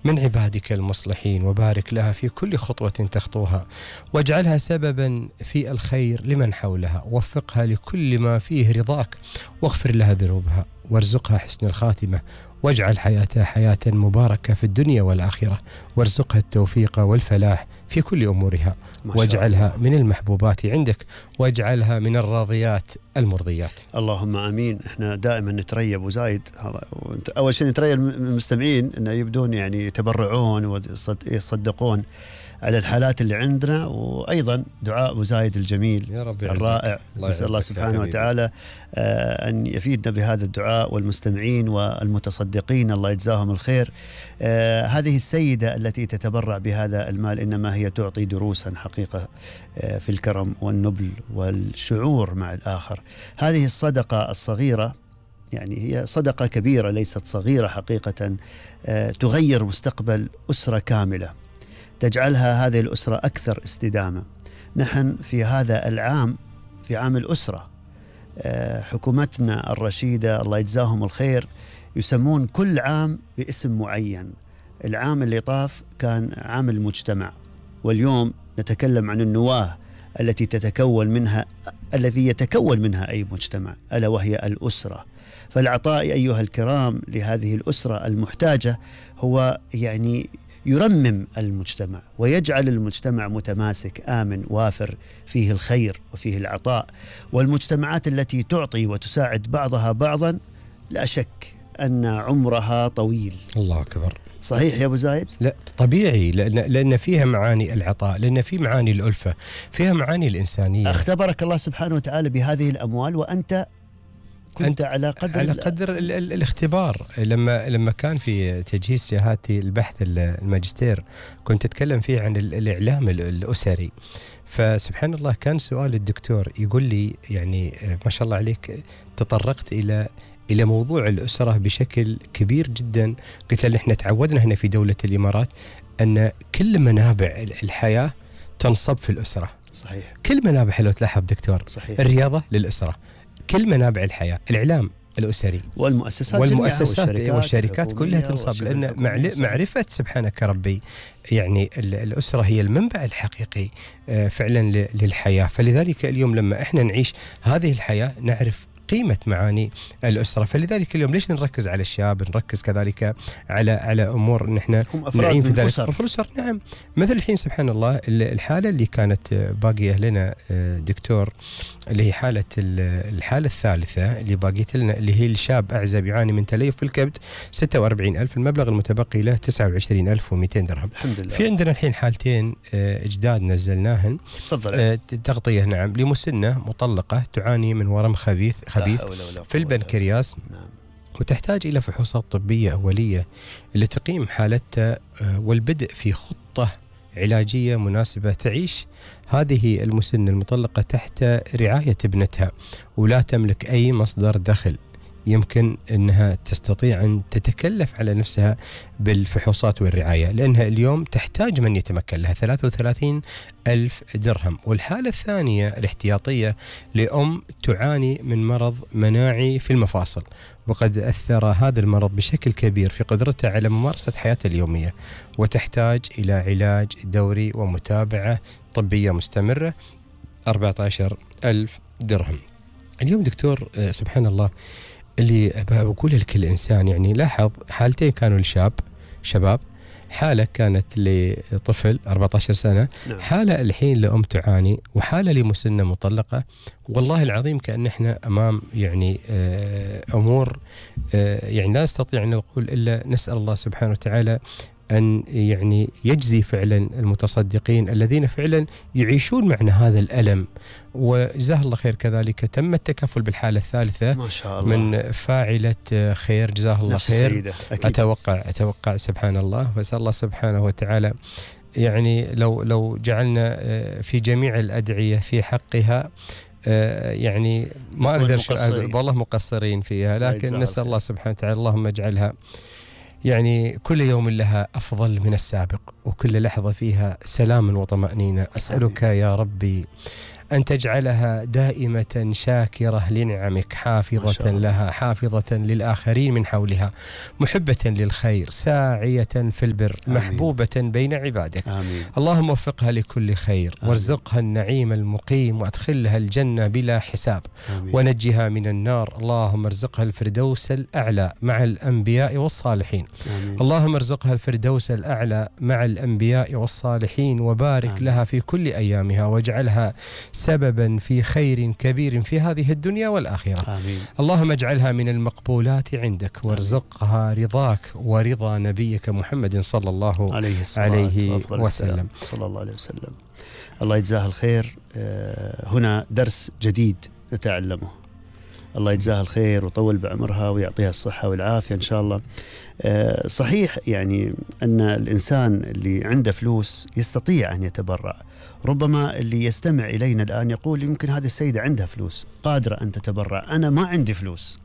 من عبادك المصلحين، وبارك لها في كل خطوة تخطوها، واجعلها سببا في الخير لمن حولها، ووفقها لكل ما فيه رضاك، واغفر لها ذنوبها، وارزقها حسن الخاتمة، واجعل حياتها حياة مباركة في الدنيا والآخرة، وارزقها التوفيق والفلاح في كل أمورها، واجعلها من المحبوبات عندك، واجعلها من الراضيات المرضيات. اللهم آمين. احنا دائما نتريب وزايد، أول شيء نتريب المستمعين أن يبدون يعني يتبرعون ويصدقون على الحالات اللي عندنا، وأيضا دعاء أبو زايد الجميل يا رب الرائع. نسأل الله سبحانه وتعالى أن يفيدنا بهذا الدعاء، والمستمعين والمتصدقين الله يجزاهم الخير. هذه السيدة التي تتبرع بهذا المال إنما هي تعطي دروسا حقيقة في الكرم والنبل والشعور مع الآخر. هذه الصدقة الصغيرة يعني هي صدقة كبيرة ليست صغيرة حقيقة، تغير مستقبل أسرة كاملة، تجعلها هذه الأسرة أكثر استدامة. نحن في هذا العام، في عام الأسرة، حكومتنا الرشيدة الله يجزاهم الخير يسمون كل عام باسم معين. العام اللي طاف كان عام المجتمع، واليوم نتكلم عن النواة التي الذي يتكون منها أي مجتمع، ألا وهي الأسرة. فالعطاء أيها الكرام لهذه الأسرة المحتاجة هو يعني يرمم المجتمع ويجعل المجتمع متماسك آمن وافر فيه الخير وفيه العطاء. والمجتمعات التي تعطي وتساعد بعضها بعضا لا شك أن عمرها طويل. الله أكبر. صحيح يا أبو زايد؟ لا طبيعي، لأن فيها معاني العطاء، لأن في معاني الألفة، فيها معاني الإنسانية. اختبرك الله سبحانه وتعالى بهذه الأموال وأنت كنت على قدر الاختبار. لما كان في تجهيز شهادتي البحث الماجستير كنت أتكلم فيه عن الإعلام الأسري، فسبحان الله كان سؤال الدكتور يقول لي يعني ما شاء الله عليك تطرقت إلى موضوع الأسرة بشكل كبير جدا. قلت له إحنا تعودنا هنا في دولة الإمارات أن كل منابع الحياة تنصب في الأسرة. صحيح. كل منابع، لو تلاحظ دكتور، صحيح. الرياضة للأسرة، كل منابع الحياة، الإعلام الأسري، والمؤسسات والشركات كلها تنصب، لأن معرفة سبحانك ربي يعني الأسرة هي المنبع الحقيقي فعلا للحياة. فلذلك اليوم لما إحنا نعيش هذه الحياة نعرف قيمة معاني الأسرة. فلذلك اليوم ليش نركز على الشاب، نركز كذلك على أمور نحن نعين في ذلك الأسر. نعم، مثل الحين سبحان الله الحالة اللي كانت باقية لنا دكتور، اللي هي الحالة الثالثة اللي باقيت لنا، اللي هي الشاب أعزب يعاني من تليف في الكبد، 46,000، المبلغ المتبقي له 29,200 درهم. الحمد لله. في عندنا الحين حالتين إجداد نزلناهن. تفضل. تغطية نعم لمسنة مطلقة تعاني من ورم خبيث في البنكرياس. نعم. وتحتاج إلى فحوصات طبية أولية لتقييم حالتها والبدء في خطة علاجية مناسبة. تعيش هذه المسنة المطلقة تحت رعاية ابنتها ولا تملك أي مصدر دخل يمكن أنها تستطيع أن تتكلف على نفسها بالفحوصات والرعاية، لأنها اليوم تحتاج من يتمكن لها 33,000 درهم. والحالة الثانية الاحتياطية لأم تعاني من مرض مناعي في المفاصل، وقد أثر هذا المرض بشكل كبير في قدرتها على ممارسة حياتها اليومية، وتحتاج إلى علاج دوري ومتابعة طبية مستمرة، 14,000 درهم. اليوم دكتور سبحان الله اللي بقول لكل إنسان، يعني لاحظ حالتين كانوا شباب، حالة كانت لطفل 14 سنة، نعم. حالة الحين لأم تعاني، وحالة لمسنة مطلقة. والله العظيم كأن احنا أمام يعني أمور يعني لا نستطيع أن نقول إلا نسأل الله سبحانه وتعالى أن يعني يجزي فعلا المتصدقين الذين فعلا يعيشون معنا هذا الألم. وجزاه الله خير. كذلك تم التكفل بالحالة الثالثة ما شاء الله من فاعلة خير، جزاه الله خير. أتوقع سبحان الله. وأسأل الله سبحانه وتعالى يعني لو جعلنا في جميع الأدعية في حقها يعني ما أقدر والله مقصرين فيها، لكن نسأل الله سبحانه وتعالى اللهم اجعلها يعني كل يوم لها أفضل من السابق، وكل لحظة فيها سلام وطمأنينة. أسألك يا ربي أن تجعلها دائمة شاكرة لنعمك، حافظة لها، حافظة للآخرين من حولها، محبة للخير، ساعية في البر، محبوبة بين عبادك. آمين. اللهم وفقها لكل خير، وارزقها النعيم المقيم، وادخلها الجنة بلا حساب، ونجها من النار. اللهم ارزقها الفردوس الأعلى مع الأنبياء والصالحين. اللهم ارزقها الفردوس الأعلى مع الأنبياء والصالحين، وبارك لها في كل أيامها، واجعلها سببا في خير كبير في هذه الدنيا والآخرة. اللهم اجعلها من المقبولات عندك، وارزقها رضاك ورضا نبيك محمد صلى الله عليه وسلم. صلى الله عليه وسلم. الله يجزاها الخير. هنا درس جديد نتعلمه. الله يجزاها الخير ويطول بعمرها ويعطيها الصحة والعافية إن شاء الله. صحيح يعني أن الإنسان اللي عنده فلوس يستطيع أن يتبرع. ربما اللي يستمع إلينا الآن يقول يمكن هذه السيدة عندها فلوس قادرة أن تتبرع، أنا ما عندي فلوس.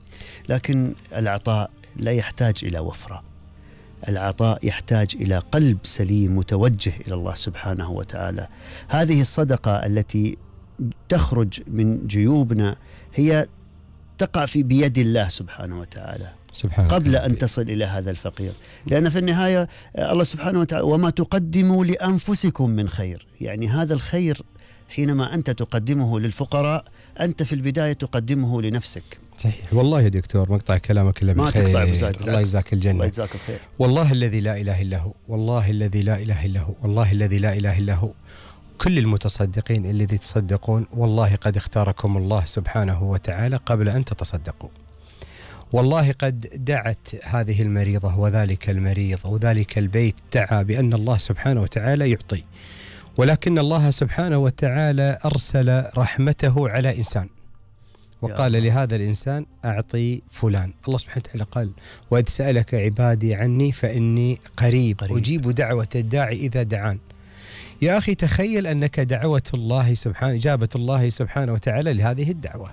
لكن العطاء لا يحتاج إلى وفرة، العطاء يحتاج إلى قلب سليم متوجه إلى الله سبحانه وتعالى. هذه الصدقة التي تخرج من جيوبنا هي تقع بيد الله سبحانه وتعالى قبل أن تصل إلى هذا الفقير، لأن في النهاية الله سبحانه وتعالى وما تقدموا لأنفسكم من خير، يعني هذا الخير حينما أنت تقدمه للفقراء أنت في البداية تقدمه لنفسك. صحيح والله يا دكتور، مقطع كلامك إلا بالخير. ما تقطع بزايد، الله يجزاك الجنة. الله يجزاك الخير. والله الذي لا إله إلا هو، والله الذي لا إله إلا هو، والله الذي لا إله إلا هو، كل المتصدقين الذي تصدقون والله قد اختاركم الله سبحانه وتعالى قبل أن تتصدقوا. والله قد دعت هذه المريضة وذلك المريض وذلك البيت دعا بأن الله سبحانه وتعالى يعطي، ولكن الله سبحانه وتعالى أرسل رحمته على إنسان وقال لهذا الإنسان أعطي فلان. الله سبحانه وتعالى قال وإذ سألك عبادي عني فإني قريب أجيب دعوة الداعي إذا دعان. يا أخي تخيل أنك دعوة الله سبحانه، إجابة الله سبحانه وتعالى لهذه الدعوة.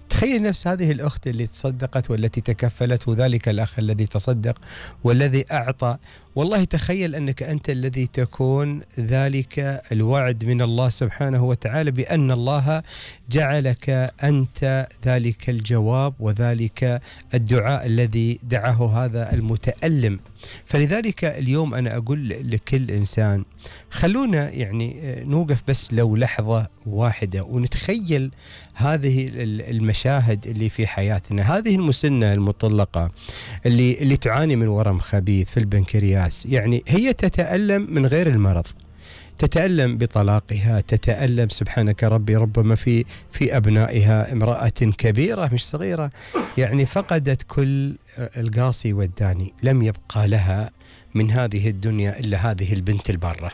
تخيل نفس هذه الأخت اللي تصدقت والتي تكفلت، وذلك الأخ الذي تصدق والذي أعطى. والله تخيل أنك أنت الذي تكون ذلك الوعد من الله سبحانه وتعالى بأن الله جعلك أنت ذلك الجواب وذلك الدعاء الذي دعاه هذا المتألم. فلذلك اليوم أنا أقول لكل إنسان خلونا يعني نوقف بس لو لحظة واحدة ونتخيل هذه المشاهد اللي في حياتنا. هذه المسنة المطلقة اللي تعاني من ورم خبيث في البنكرياس، يعني هي تتألم من غير المرض، تتألم بطلاقها، تتألم سبحانك ربي ربما في أبنائها، امرأة كبيرة مش صغيرة، يعني فقدت كل القاصي والداني، لم يبقى لها من هذه الدنيا إلا هذه البنت البارة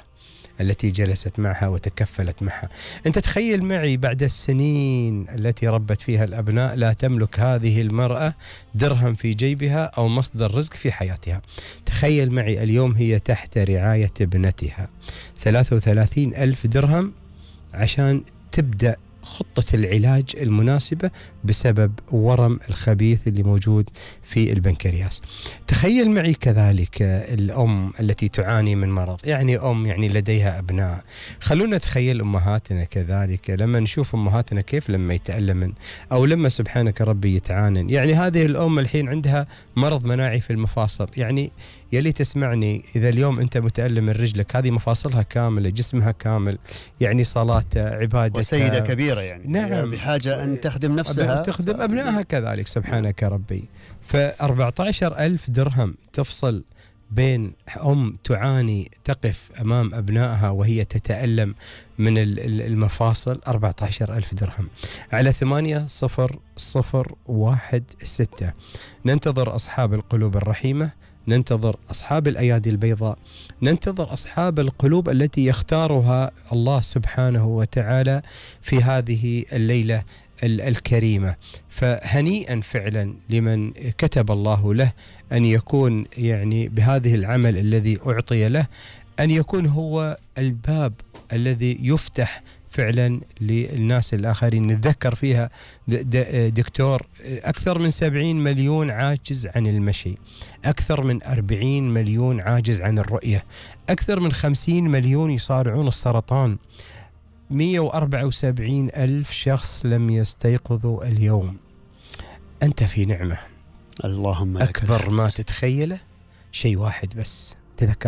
التي جلست معها وتكفلت معها. أنت تخيل معي بعد السنين التي ربت فيها الأبناء لا تملك هذه المرأة درهم في جيبها أو مصدر رزق في حياتها. تخيل معي اليوم هي تحت رعاية ابنتها، 33,000 درهم عشان تبدأ خطة العلاج المناسبة بسبب ورم الخبيث اللي موجود في البنكرياس. تخيل معي كذلك الأم التي تعاني من مرض، يعني أم يعني لديها أبناء. خلونا نتخيل أمهاتنا كذلك، لما نشوف أمهاتنا كيف لما يتألمن أو لما سبحانك ربي يتعانن. يعني هذه الأم الحين عندها مرض مناعي في المفاصل، يعني يلي تسمعني إذا اليوم أنت متألم من رجلك، هذه مفاصلها كاملة، جسمها كامل، يعني صلاة عبادة وسيدة كبيرة يعني نعم بحاجة أن تخدم نفسها تخدم أبنائها كذلك سبحانك ربي. ف14,000 درهم تفصل بين أم تعاني تقف أمام أبنائها وهي تتألم من المفاصل. 14,000 درهم على 80016. ننتظر أصحاب القلوب الرحيمة، ننتظر أصحاب الأيادي البيضاء، ننتظر أصحاب القلوب التي يختارها الله سبحانه وتعالى في هذه الليلة الكريمة. فهنيئا فعلا لمن كتب الله له أن يكون يعني بهذه العمل الذي أعطي له، أن يكون هو الباب الذي يفتح فعلا للناس الآخرين. نتذكر فيها دكتور أكثر من 70 مليون عاجز عن المشي، أكثر من 40 مليون عاجز عن الرؤية، أكثر من 50 مليون يصارعون السرطان. 174 ألف شخص لم يستيقظوا اليوم. أنت في نعمة. اللهم لك أكبر ما تتخيله شيء واحد بس تذكره،